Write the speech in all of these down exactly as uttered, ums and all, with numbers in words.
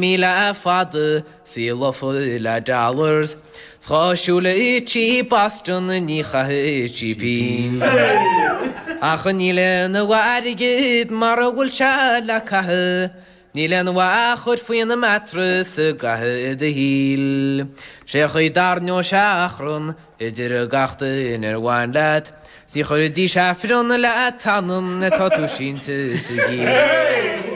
Míle fada 's í lofa le dollars 's dhá siúlfadh sí Boston ní chaithfeadh sí pingin. Ach níl aon mhaith airgead mara bhfuil sé le caitheamh, níl aon mhaith a chur faoina mattress i gcaitheamh do shaoil. Sé an chaoi a dtarraingeodh sé achrann idir gach duine ar bhain leat, 's ní chuirfidís Aifreann le t'anam nuair atá tú sínte sa gcill.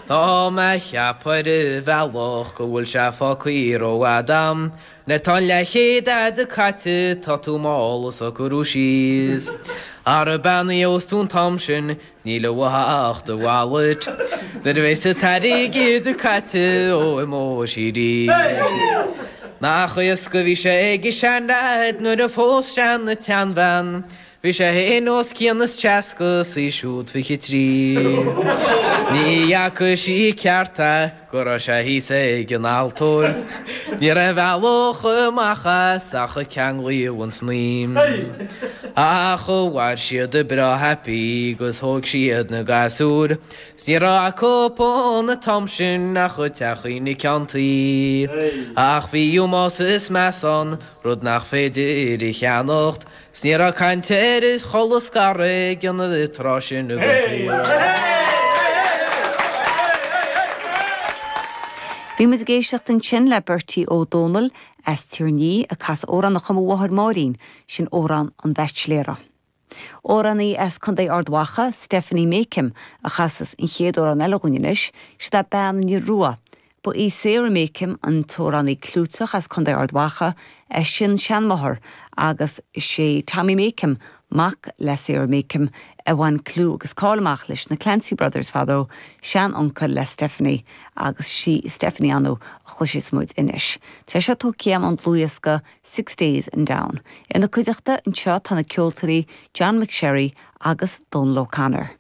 Tá mé a cheapadh ar an bhealach go bhfuil sé fágtha rófhada a'm, nuair atá an leathchéad a'd caite tá tú mall ag socrú síos. Ara bean a gheobhas tú an t-am sin níl uait ach do wallet, nuair a bheas an t-airgead caite ó imeoidh sí arís. Nach éasca a bhí sé ag an seanleaid nuair a phós sé an tseanbhean, Bhí sé féin os cionn is seasca 's í siúd fiche trí. Ní fhaca sí ceart é go raibh sé thíos ag an altóir. Ní raibh aon bhealach amach as ach ceanglaíodh an snaidhm. Ach mhair siad breá happy 'gus thóg siad na gasúir. 'S ní raibh acu an t-am sin ach teachín ceann tuí. Ach bhí ómós is meas ann, rud nach féidir a cheannacht. 'S ní raibh caint ar chol scaradh ag an tráth sin den tsaol. Bhí muid ag éisteacht ansin le Bertie Ó Dónaill as Tír an Fhia ag casadh amhrán a chum a mháthair Máirín, sin amhrán an bhaitsiléara. Amhránaí as Contae Ard Mhacha, Stephanie Makem, a chasas an chéad amhrán eile dhúinn anois, siod é Bean an Iorua. Ba í Sarah Makem an t-amhránaí clúiteach as Contae Ard Mhacha a sin-seanmháthair agus sé Tommy Makem mac le Sarah Makem a bhain clú agus cáil amach leis na Clancy Brothers fadó sean-uncail le Stephanie agus sí Stephanie anu a chloisfidh muid anois. Tá sé tógtha ón dlúthdhiosca Six Days in Down. Ina cuideachta anseo tá na ceoltóirí John McSherry agus Donal O'Connor.